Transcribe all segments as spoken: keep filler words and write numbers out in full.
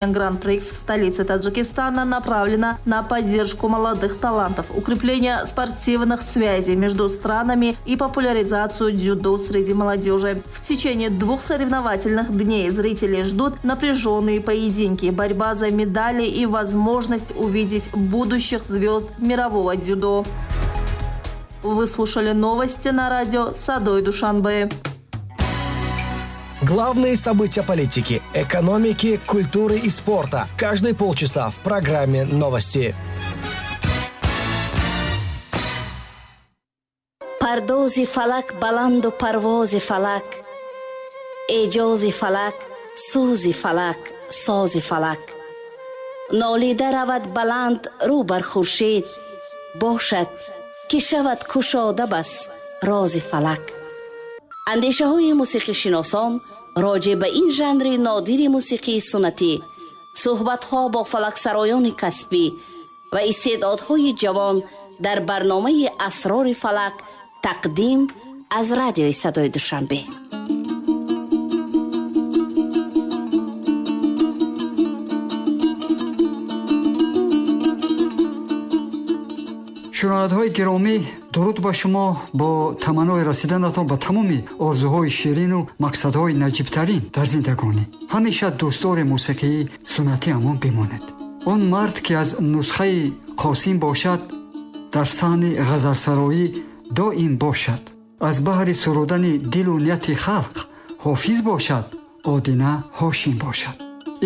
Гран-прикс в столице Таджикистана направлена на поддержку молодых талантов, укрепление спортивных связей между странами и популяризацию дзюдо среди молодежи. В течение двух соревновательных дней зрители ждут напряженные поединки, борьба за медали и возможность увидеть будущих звезд мирового дзюдо. Вы слушали новости на радио «Садой Душанбе». Главные события политики, экономики, культуры и спорта. Каждые полчаса в программе «Новости». Пардози фалак баланду парвози фалак, эҷози фалак, сӯзи фалак, сози фалак. Нолида равад баланд рӯ бар хуршед, бошад, ки шавад кушода бас рози фалак. Андешаҳои мусиқишиносон роҷеъ ба ин жанри нодири мусиқии суннатӣ, суҳбатҳо бо фалаксароёни касбӣ ва истеъдодҳои ҷавон дар барномаи «Асрори фалак» тақдим аз радиои Садои Душанбе. Шунавандаҳои гиромӣ, дуруд ба шумо бо таманнои расиданатон ба тамоми орзуҳои ширину мақсадҳои наҷибтарин дар зиндагонӣ. Ҳамеша дӯстдори мусиқии суннатиамон бимонед. Он мард, ки аз нусхаи Қосим бошад, дар саҳни ғазалсароӣ доим бошад. Аз баҳри сурудани дилу нияти халқ ҳофиз бошад, Одина Ҳошим бошад.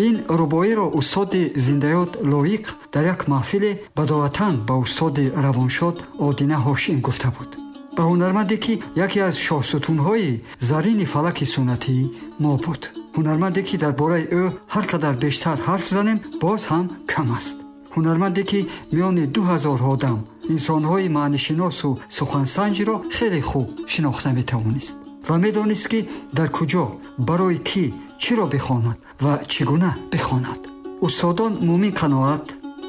Ин рубоиро устоди зиндаёд Лоиқ дар як маҳфиле бадоватан ба устоди равоншод Одина Ҳошим гуфта буд. Ба ҳунарманде, ки яке аз шоҳсутунҳои зарини фалаки суннатии мо буд. Ҳунарманде, ки дар бораи ӯ ҳар қадар бештар ҳарф занем, боз ҳам кам аст. Ҳунарманде, ки миёни ду ҳазор одам инсонҳои маънишиносу сухансанҷро хеле хуб шинохта метавонист ва медонист, ки дар куҷо, барои кӣ, чиро бихонад ва чӣ гуна бихонад. Устодон Мумин Қаноат,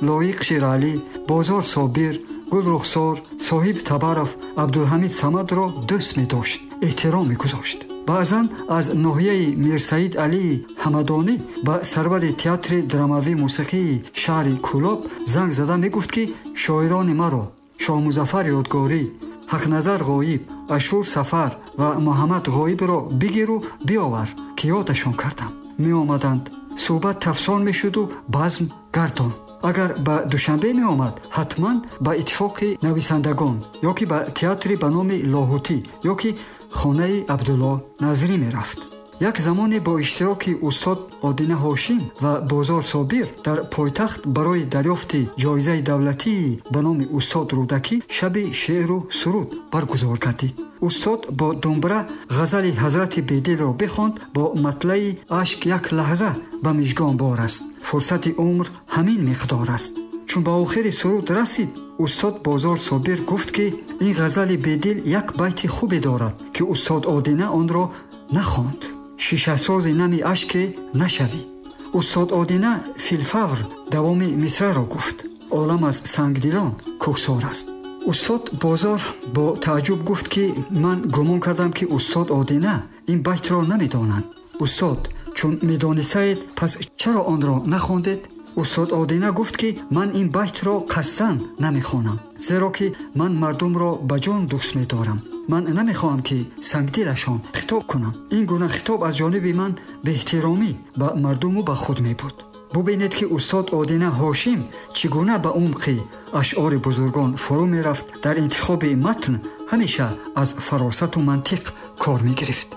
Лоиқ Шералӣ, Бозор Собир, Гулрухсор, Соҳиб Табаров, Абдулҳамид Самадро дӯст медошт, эҳтиром мегузошт. Баъзан аз ноҳияи Мирсаид Алии Ҳамадонӣ ба сарвари театри драмавии мусиқии шаҳри Кӯлоб занг зада мегуфт, ки шоирони маро Шоҳмузаффар Ёдгорӣ, Ҳақназар Ғоиб, Ашур Сафар ва Муҳаммад Ғоибро бигиру биёвар, ки ёдашон кардам. Меомаданд, суҳбат тафсон мешуду базм гардон. Агар ба Душанбе меомад, ҳатман ба иттифоқи нависандагон ё ки ба театри ба номи Лоҳутӣ ё ки хонаи Абдулло Назрӣ мерафт. Як замоне бо иштироки устод Одина Ҳошим ва Бозор Собир дар пойтахт барои дарёфти ҷоизаи давлатии ба номи устод Рӯдакӣ шаби шеъру суруд баргузор гардид. Устод бо думбра ғазали ҳазрати Бедилро бихонд бо матлаи «Ашк як лаҳза ба мижгон бор аст, фурсати умр ҳамин миқдор аст». Чун ба охири суруд расид, устод Бозор Собир гуфт, ки ин ғазали Бедил як байти хубе дорад, ки устод Одина онро нахонд. Шишасози нами ашке нашавӣ. Устод Одина филфавр давоми мисраро гуфт: олам аз сангдилон кӯҳсор аст. Устод Бозор бо тааҷҷуб гуфт, ки ман гумон кардам, ки устод Одина ин байтро намедонанд. Устод, чун медонистаед, пас чаро онро нахондед? Устод Одина гуфт, ки ман ин байтро қасдан намехонам, зеро ки ман мардумро ба ҷон дӯст медорам. Ман намехоҳам, ки сангдилашон хитоб кунам. Ин гуна хитоб аз ҷониби ман беэҳтиромӣ ба мардуму ба худ мебуд. Бубинед, ки устод Одина Ҳошим чӣ гуна ба умқи ашъори бузургон фурӯ мерафт. Дар интихоби матн ҳамеша аз фаросату мантиқ кор мегирифт.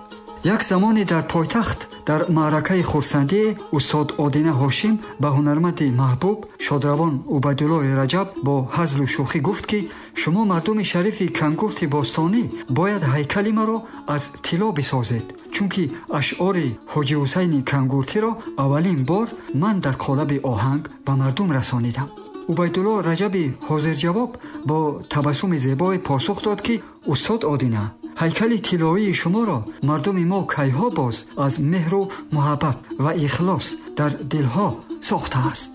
Як замоне дар пойтахт дар маъракаи хурсандие устод Одина Ҳошим ба ҳунарманди маҳбуб шодравон Убайдуллои Раҷаб бо ҳазлу шӯхӣ гуфт, ки шумо мардуми шарифи Кангурти бостонӣ бояд ҳайкали маро аз тилло бисозед, чунки ашъори Ҳоҷи Ҳусайни Кангуртиро аввалин бор ман дар қолаби оҳанг ба мардум расонидам. Убайдулло Раҷаби ҳозирҷавоб бо табассуми зебое посух дод, ки устод Одина, ҳайкали тиллоии шуморо мардуми мо кайҳо боз аз меҳру муҳаббат ва ихлос дар дилҳо сохтааст.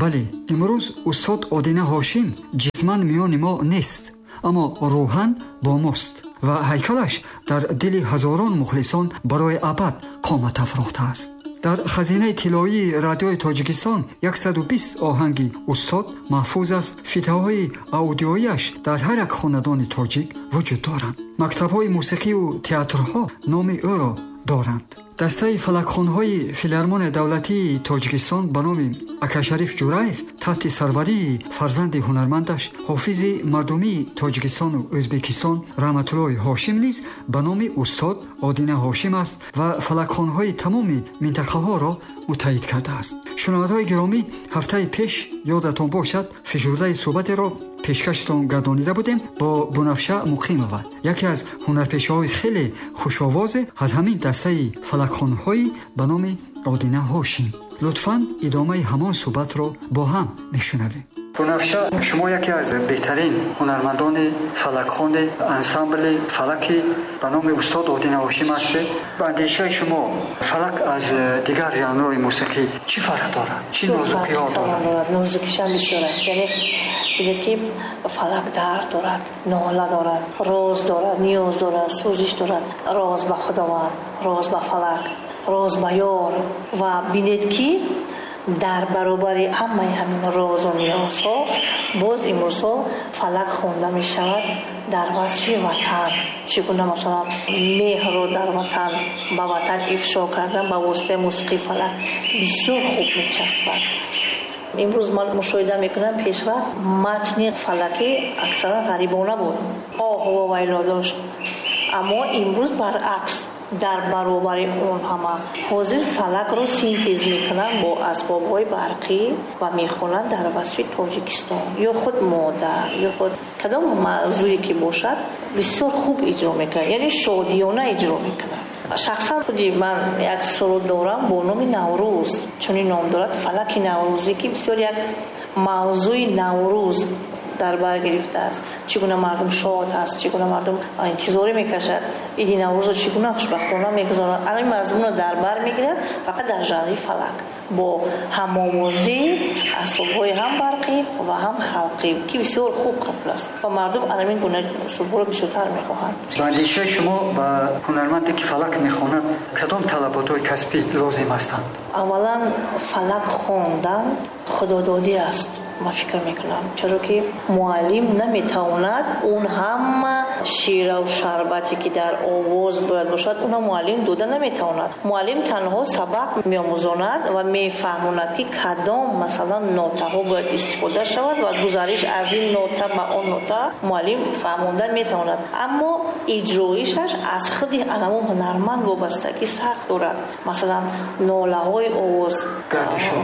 Бале, имрӯз устод Одина Ҳошим ҷисман миёни мо нест, аммо рӯҳан бо мост ва ҳайкалаш дар дили ҳазорон мухлисон барои абад қомат афрохтааст. Дар хазинаи тиллоии радиои Тоҷикистон яксаду бист оҳанги устод маҳфуз аст. Фитаҳои аудиоияш дар ҳар як хонадони тоҷик вуҷуд доранд. Мактабҳои мусиқиву театрҳо номи ӯро доранд. Дастаи фалакхонҳои Филармонияи давлатии Тоҷикистон ба номи Акашариф Ҷураев таҳти сарварии фарзанди ҳунармандаш, ҳофизи мардумии Тоҷикистону Ӯзбекистон Раҳматуллоҳи Ҳошим низ ба номи устод Одина Ҳошим аст ва фалакхонҳои тамоми минтақаҳоро муттаҳид кардааст. Шунавандаҳои гиромӣ, ҳафтаи пеш ёдатон бошад, фишурдаи суҳбатеро пешкаштон гардонида будем бо Бунафша Муқимова, яке аз ҳунарпешаҳои хеле хушовозе аз ҳамин дастаи фалакхонҳои ба номи Одина Ҳошим. Лутфан идомаи ҳамон суҳбатро бо ҳам мешунавем. Бунафша, шумо яке аз беҳтарин ҳунармандони фалакхони ансамбли фалаки ба номи устод Одина Ҳошим ҳастед. Ба андешаи шумо фалак аз дигар жанрҳои мусиқӣ чӣ фарқ дорад? Чӣ нозукиҳо дорад? Нозукишам бисёр аст. Яъне бигӯед ки фалак дард дорад, нола дорад, роз дорад, ниёз дорад, сӯзиш дорад. Роз ба Худованд, роз ба фалак, роз ба ёр. Ва бинед ки дар баробари ҳамаи ҳамин розу ниёзҳо боз имрӯзҳо фалак хонда мешавад дар васфи ватан. Чӣ гуна масалан меҳрро дар ватан, ба ватан ифшо кардан ба воситаи мусиқии фалак бисёр хуб мечаспад. Имрӯз ман мушоҳида мекунам, пешвақт матни фалакӣ аксаран ғарибона буд, оҳу вовайло дошт. Аммо имрӯз баръакс, дар баробари он ҳама ҳозир фалакро синтез мекунанд бо асбобҳои барқӣ ва мехонанд дар васфи Тоҷикистон ё худ модар ё худ кадом мавзӯе ки бошад, бисёр хуб иҷро мекунанд, яъне шодиёна иҷро мекунанд. Шахсан худи ман як суруд дорам бо номи Наврӯз, чунин ном дорад, фалаки наврӯзӣ, ки бисёр як мавзӯи Наврӯз дар бар гирифтааст. Чӣ гуна мардум шод ҳаст, чӣ гуна мардум интизорӣ мекашад иди Наврӯзро, чӣ гуна хушбахтона мегузаронад. Ҳамин мазмунро дар бар мегирад фақат дар жанри фалак бо ҳамовозии асбобҳои ҳам барқӣ ва ҳам халқӣ, ки бисёр хуб қабул аст ва мардум ҳамин гуна сурудҳоро бисёртар мехоҳанд. Ба андешаи шумо ба ҳунарманде ки фалак мехонад кадом талаботҳои касбӣ лозим ҳастанд? Аввалан фалак хондан худододӣ аст, ман фикр мекунам, чаро ки муаллим наметавонад он ҳама шираву шарбате ки дар овоз бояд бошад, онро муаллим дода наметавонад. Муаллим танҳо сабақ меомӯзонад ва мефаҳмонад ки кадом масалан нотаҳо бояд истифода шавад ва гузариш аз ин нота ба он нота муаллим фаҳмонда метавонад. Аммо иҷроишаш аз худи анамон ҳунарманд вобастагӣ сахт дорад. Масалан нолаҳои овоз,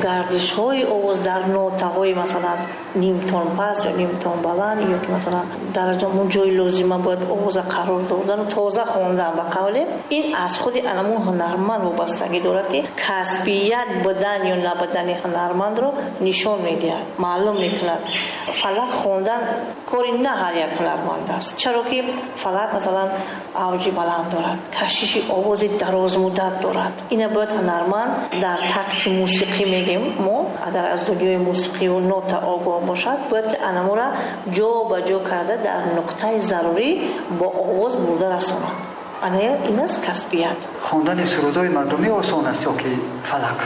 гардишҳои овоз дар нотаҳои масалан нимтон паст ё нимтон баланд, ё ки масалан дар он ҷои лозима бояд овоза қарор додан, тоза хондан, ба қавле ин аз худи анамон ҳунарманд вобастагӣ дорад, ки касбият будан ё набудани ҳунармандро нишон медиҳад, маълум мекунад. Фалак хондан кори на ҳар як ҳунарманд аст, чаро ки фалак масалан авҷи баланд дорад, кашиши овози дарозмуддат дорад. Ина бояд ҳунарманд дар такти мусиқӣ мегем мо, агар аз дунёи мусиқиву нота огоҳ бошад, бояд ки анамура ҷо ба ҷо карда дар нуқтаи зарурӣ бо овоз бурда расонад. Ана ин аст касбият. Хондани сурудҳои мардумӣ осон аст ё ки фалак?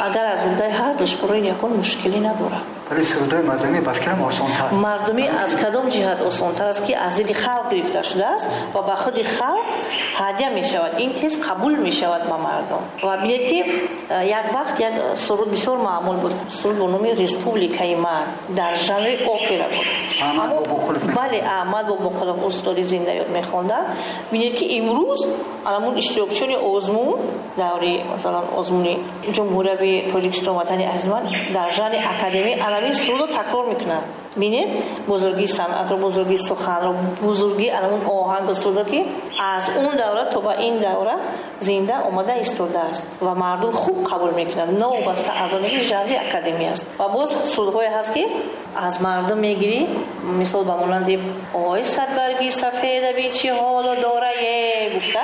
Агар аз уҳдаи ҳар душворӣ ягон мушкилӣ надорад. Вале сурудҳои мардумӣ ба фикрам осонтар. Мардумӣ аз кадом ҷиҳат осонтар аст, ки аз дили халқ гирифта шудааст ва ба худи халқ ҳадя мешавад, ин тез қабул мешавад ба мардум. Ва бинед ки як вақт як суруд бисёр маъмул буд, суруд бо номи Республикаи ман дар жанри опера буд. Аҳмад Бобоқулов. Бале, Аҳмад Бобоқулов устоди зиндаёд мехонданд. Бинед ки имрӯз анамун иштирокчиёни озмун даври масалан озмуни Ҷумҳурияи Тоҷикистон ватани азизман дар жанри академӣ анамин сурудро такрор мекунанд. Бинед бузургии санъатро, бузургии суханро, бузургии анамун оҳангу сурудро, ки аз он давра то ба ин давра зинда омада истодааст ва мардум хуб қабул мекунанд, новобаста аз оне ки жанри академӣ аст. Ва боз сурудҳое ҳаст, ки аз мардум мегирӣ, мисол ба монанди ой садбарги сафеда бин чӣ ҳоло дорае гуфта,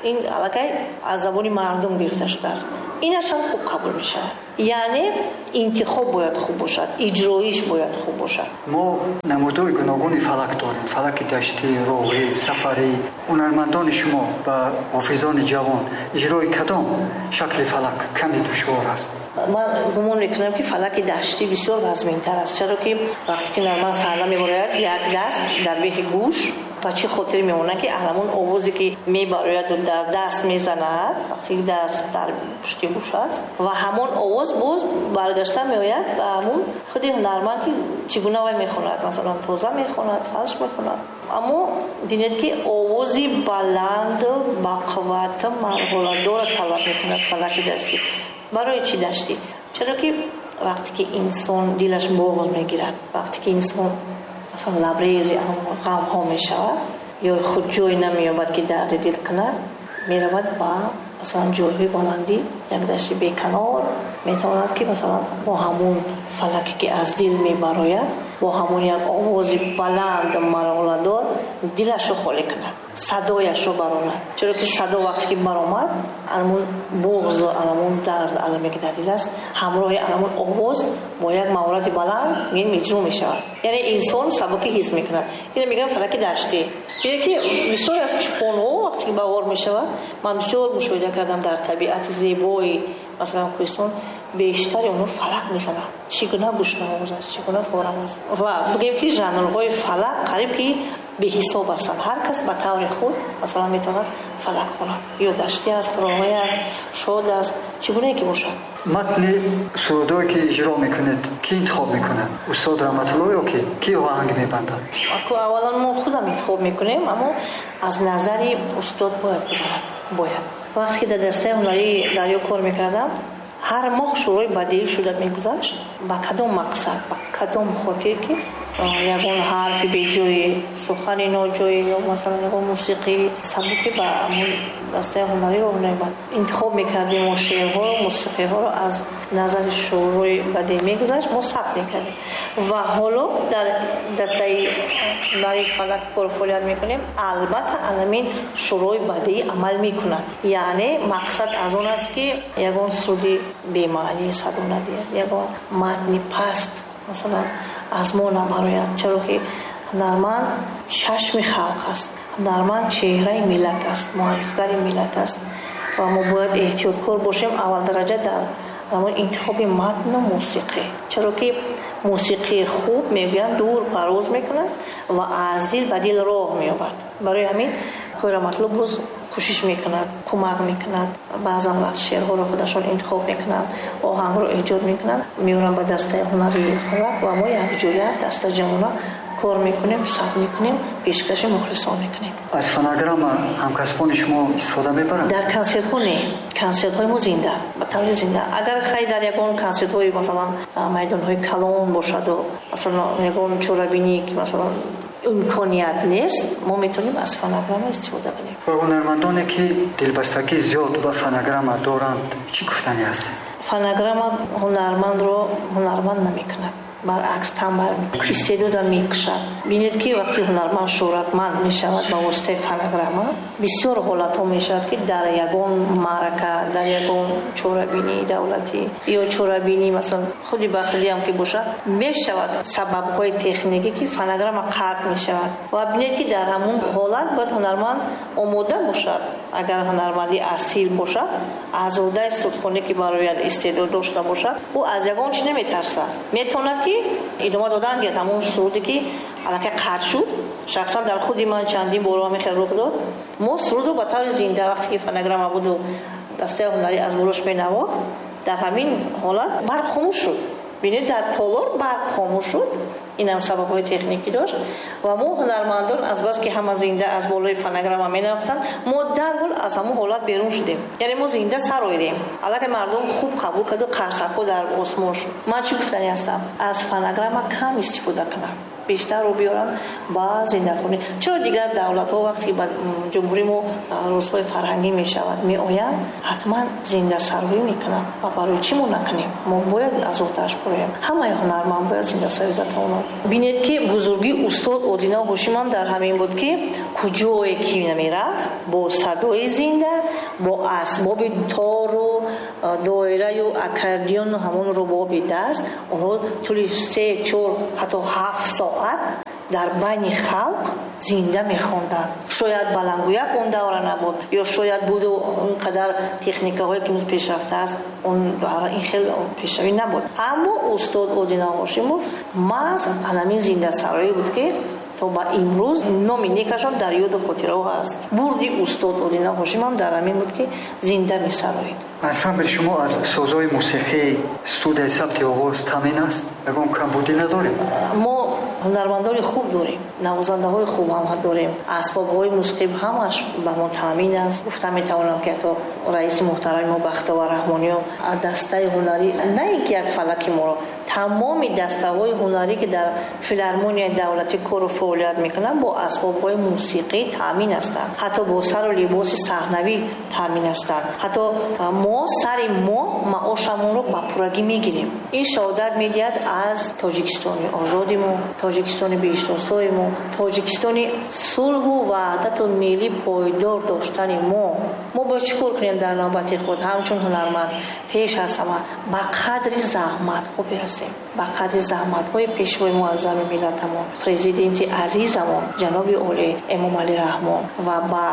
ин аллакай аз забони мардум гирифта шудааст. Инаш ҳам хуб қабул мешавад. Яъне интихоб бояд хуб бошад, иҷроиш бояд хуб бошад. Мо намудҳои гуногуни фалак дорем. Фалаки даштӣ, роғӣ, сафарӣ. Ҳунармандони шумо ба ҳофизони ҷавон иҷрои кадом шакли фалак каме душвор аст? Ман гумон мекунам, ки фалаки даштӣ бисёр вазминтар аст, чаро ки вақте ки ҳунарманд саҳна мебарояд, як даст дар бехи гӯш, ба чӣ хотир мемонад, ки ҳамон овозе ки мебарояду дар даст мезанад, вақте ки даст дар пушти гӯш аст, ва ҳамон овоз боз баргашта меояд ба ҳамон худи ҳунарманд, ки чӣ гуна вай мехонад, масалан тоза мехонад, фалш мехонад. Аммо бинед, ки овози баланд, бақувват, марҳаладорро талаб мекунад фалаки даштӣ. Барои чӣ даштӣ? Чаро ки вақте ки инсон дилаш боғз мегирад, вақте ки инсон масалан лабрези ғамҳо мешавад ё худ ҷой намеёбад, ки дарди дил кунад, меравад ба масалан ҷойҳои баландӣ, як дашти беканор, метавонад, ки масалан бо ҳамон фалаке, ки аз дил мебарояд, бо ҳамон як овози баланд марҳаладор дилашро холӣ кунад, садояшро барорад. Чаро ки садо вақте ки баромад, анамон буғзу анамон дард аламе, ки дар дил аст, ҳамроҳи анамон овоз бо як маҳорати баланд ин иҷро мешавад. Яъне инсон сабукӣ ҳис мекунад. Инро мегӯям фалаки даштӣ. Бинед, ки бисёре аз чӯпонҳо вақте ки баҳор мешавад, ман бисёр мушоҳида кардам дар табиати зебои масалан кӯҳистон, бештари онҳо фалак мезананд. Чӣ гуна гӯшнавоз аст, чӣ гуна форам аст. Ва бигӯем, ки жанрҳои фалак қариб ки беҳисоб ҳастанд. Ҳар кас ба таври худ масалан метавонад фалак хонад. Ё даштӣ аст, роғӣ аст, шод аст, чӣ гунае ки бошад. Матни сурудҳое, ки иҷро мекунед, кӣ интихоб мекунад? Устод Раҳматулло ё ки? Кӣ оҳанг мебандад? Аввалан мо худам интихоб мекунем, аммо аз назари устод бояд гузарад. Бояд. Вақте ки дар дастаи ҳунарии Дарё кор мекардам, ҳар моҳ шӯрои бадеӣ шуда мегузашт. Ба кадом мақсад, ба кадом хотир, ки ягон ҳарфи беҷоӣ, сухани ноҷоӣ ё масалан ягон мусиқии сабукӣ ба ҳамон дастаи ҳунарӣ роҳ наёбад. Интихоб мекардем мо шеърҳоро, мусиқиҳоро аз назари шӯрои бадеӣ мегузашт, мо сабт мекардем. Ва ҳоло дар дастаи ҳунарии фалак кор фаъолият мекунем, албатта анамин шӯрои бадеӣ амал мекунад. Яъне мақсад аз он аст, ки ягон суруди бемаънӣ садо надиҳад, ягон матни паст масалан аз мо набарояд. Чаро ки ҳунарманд чашми халқ аст, ҳунарманд чеҳраи миллат аст, муаррифгари миллат аст ва мо бояд эҳтиёткор бошем аввалдараҷа дар ҳамон интихоби матну мусиқӣ. Чаро ки мусиқии хуб, мегӯянд, дур парвоз мекунад ва аз дил ба дил роҳ меёбад. Барои ҳамин Оқои Раҳматулло боз кӯшиш мекунад, кӯмак мекунад. Баъзан вақт шеърҳоро худашон интихоб мекунанд, оҳангро эҷод мекунанд, меоранд ба дастаи ҳунарии фалак ва мо якҷоя дастаҷамъона кор мекунем, сабт мекунем, пешкаши мухлисон мекунем. Аз фонограмма ҳамкасбони шумо истифода мебаранд? Дар консертҳо не. Консертҳои мо зинда, ба таври зинда. Агар хай дар ягон консертҳои масалан майдонҳои калон бошаду масалан ягон чорабинӣ, ки масалан имконият нест, мо метавонем аз фонограмма истифода кунем. Ба ҳунармандоне, ки дилбастагӣ зиёд ба фонограмма доранд, чӣ гуфтанӣ ҳастед? Фонограмма ҳунармандро ҳунарманд намекунад, баръакс танбал мекунад, истеъдодро мекушад. Бинед, ки вақте ҳунарманд шӯҳратманд мешавад ба воситаи фонограмма, бисёр ҳолатҳо мешавад, ки дар ягон маърака, дар ягон чорабинии давлатӣ ё чорабинӣ масалан худи бахилиам ки бошад, мешавад сабабҳои техникӣ, ки фонограмма қатъ мешавад. Ва бинед, ки дар ҳамон ҳолат бояд ҳунарманд омода бошад. Агар ҳунарманди асил бошад, аз уҳдаи сурудхонӣ, ки барояд истеъдод дошта бошад, ӯ аз ягон чиз наметарсад. Метавонад, ки идома додан гирад ҳамон суруде, ки аллакай қатъ шуд. Шахсан дар худи ман чандин бор ҳамин хел рух дод. Мо сурудро ба таври зинда, вақте ки фонограмма буду дастаи ҳунарӣ аз болош менавохт, дар ҳамин ҳолат барқ хомӯш шуд. Бинед, дар толор барқ хомӯш шуд. Инам сабабҳои техникӣ дошт. Ва мо ҳунармандон аз бас ки ҳама зинда аз болои фонограмма менавохтанд, мо дарҳол аз ҳамон ҳолат берун шудем. Яъне мо зинда сароидем. Аллакай мардум хуб қабул карду қарсакҳо дар осмон шуд. Ман чӣ гуфтанӣ ҳастам? Аз фонограмма кам истифода кунам, бештарро биёрам ба зиндахонӣ. Чаро дигар давлатҳо вақте ки ба ҷумҳурии мо рӯзҳои фарҳангӣ мешавад, меоянд, ҳатман зиндасароӣ мекунанд. Ва барои чӣ мо накунем? Мо бояд аз уҳдааш бароем. Ҳамаи ҳунарманд бояд зиндасароида тавонад. Бинед, ки бузургии устод Одина Ҳошимам дар ҳамин буд, ки куҷое ки намерафт, бо садои зинда, бо асбоби тору доираю аккордеону ҳамон рубоби даст онҳо тӯли се, чор, ҳатто ҳафт соат дар байни халқ зинда мехонданд. Шояд баландгӯяк он давра набуд, ё шояд буду он қадар техникаҳое ки имрӯз пешрафта аст, он ин хел пешравӣ набуд. Аммо устод Одина Ҳошимов маҳз ҳамин зиндасароӣ буд, ки то ба имрӯз номи некашон дар ёду хотираҳо ҳаст. Бурди устод Одина Ҳошим ҳам дар ҳамин буд, ки зинда месароид. Ансамбли шумо аз созҳои мусиқӣ, студияи сабти овоз таъмин аст? Ягон камбудӣ надорем? Мо ҳунармандони хуб дорем, навозандаҳои хуб ҳам дорем, асбобҳои мусиқӣ ҳамаш ба мо таъмин аст. Гуфта метавонам, ки ҳатто раиси муҳтарами мо Бахтовар Раҳмониён дастаи ҳунарӣ, на ин ки як фалаки моро, тамоми дастаҳои ҳунарӣ, ки дар филармонияи давлатӣ кору фаъолият мекунанд, бо асбобҳои мусиқӣ таъмин ҳастанд, ҳатто бо сару либоси саҳнавӣ таъмин ҳастанд. Ҳатто мо сари мо маошамонро ба пуррагӣ мегирем. Ин шаҳодат медиҳад аз Тоҷикистони озоди мо, Тоҷикистони беҳиштосои мо, Тоҷикистони сулҳу ваҳдату миллӣ пойдор доштани мо. Мо бояд чӣ кор кунем дар навбати худ ҳамчун ҳунарманд? Пеш аз ҳама ба қадри заҳматҳо бирасем, ба қадри заҳматҳои пешвои муаззами миллатамон, президенти азизамон ҷаноби олӣ Эмомалӣ Раҳмон, ва ба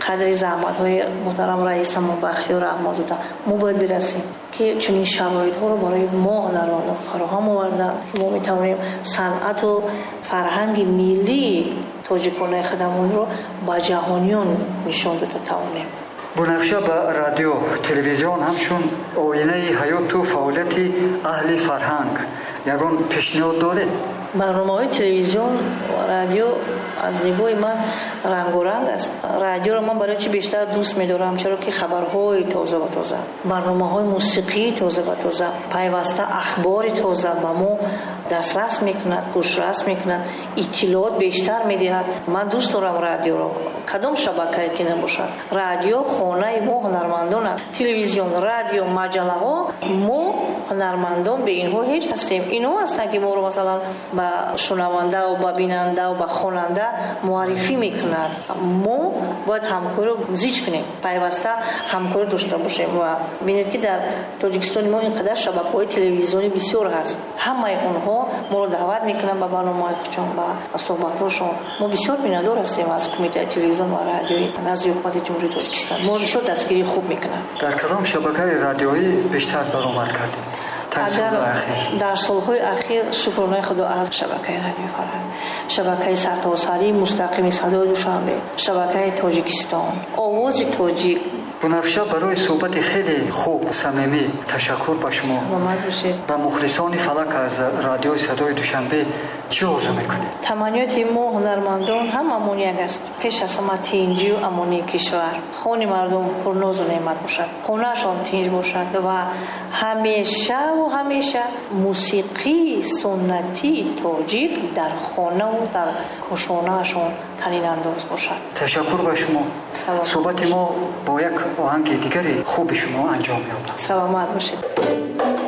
қадри заҳматҳои муҳтарам раисамон Бахтиёр Раҳмонзода мо бояд бирасем, ки чунин шароитҳоро барои мо ҳунармандон фароҳам оварданд, ки мо метавонем санъату фарҳанги миллии тоҷиконаи худамонро ба ҷаҳониён нишон дода тавонем. Бунафша ба радио, телевизион ҳамчун оинаи ҳаёту фаъолияти аҳли фарҳанг ягон пешниҳод доред? Барномаҳои телевизион ва радио аз нигоҳи ман рангоранг аст. Радиоро ман барои чӣ бештар дӯст медорам? Чаро ки хабарҳои тоза ба тоза, барномаҳои мусиқии тоза ба тоза, пайваста ахбори тоза ба мо дастрас мекунад, гӯшрас мекунад, иттилоот бештар медиҳад. Ман дӯст дорам радиоро, кадом шабакае ки набошад. Радио хонаи мо ҳунармандон аст. Телевизион, радио, маҷаллаҳо, мо ҳунармандон бе инҳо ҳеҷ ҳастем. Инҳо ҳастанд, ки моро масалан ба шунавандаву ба бинандаву ба хонанда муаррифӣ мекунад. Мо бояд ҳамкориро зич кунем, пайваста ҳамкорӣ дошта бошем. Ва бинед, ки дар Тоҷикистони мо ин қадар шабакаҳои телевизионӣ бисёр ҳаст. Ҳамаи онҳо моро даъват мекунанд ба барномаҳои худшон, ба суҳбатҳошон. Мо бисёр миннатдор ҳастем аз Кумитаи телевизион ва радиои назди Ҳукумати Ҷумҳурии Тоҷикистон. Моро бисёр дастгирии хуб мекунанд. Дар кадом шабакаи радиоӣ бештар баромад кардед? Агар дар солҳои ахир, шукронаи Худо, аз шабакаи радиои фарҳанг, шабакаи сартосарии мустақими садои Душанбе, шабакаи Тоҷикистон, овози тоҷик. Бунафша, барои суҳбати хеле хуб, самимӣ ташаккур ба шумо. Саломат бошед. Ба мухлисони фалак аз радиои садои Душанбе чӣ орзу мекунед? Таманниёти мо ҳунармандон ҳамамон як аст. Пеш аз ҳама тинҷию амонии кишвар, хони мардум пурнозу неъмат бошад, хонаашон тинҷ бошад ва ҳамешаву ҳамеша мусиқии суннатии тоҷик дар хонаву дар кошонаашон танинандоз бошад. Ташаккур ба шумо. Суҳбати мо бо як оҳанги дигари хуби шумо анҷом меёбад. Саломат бошед.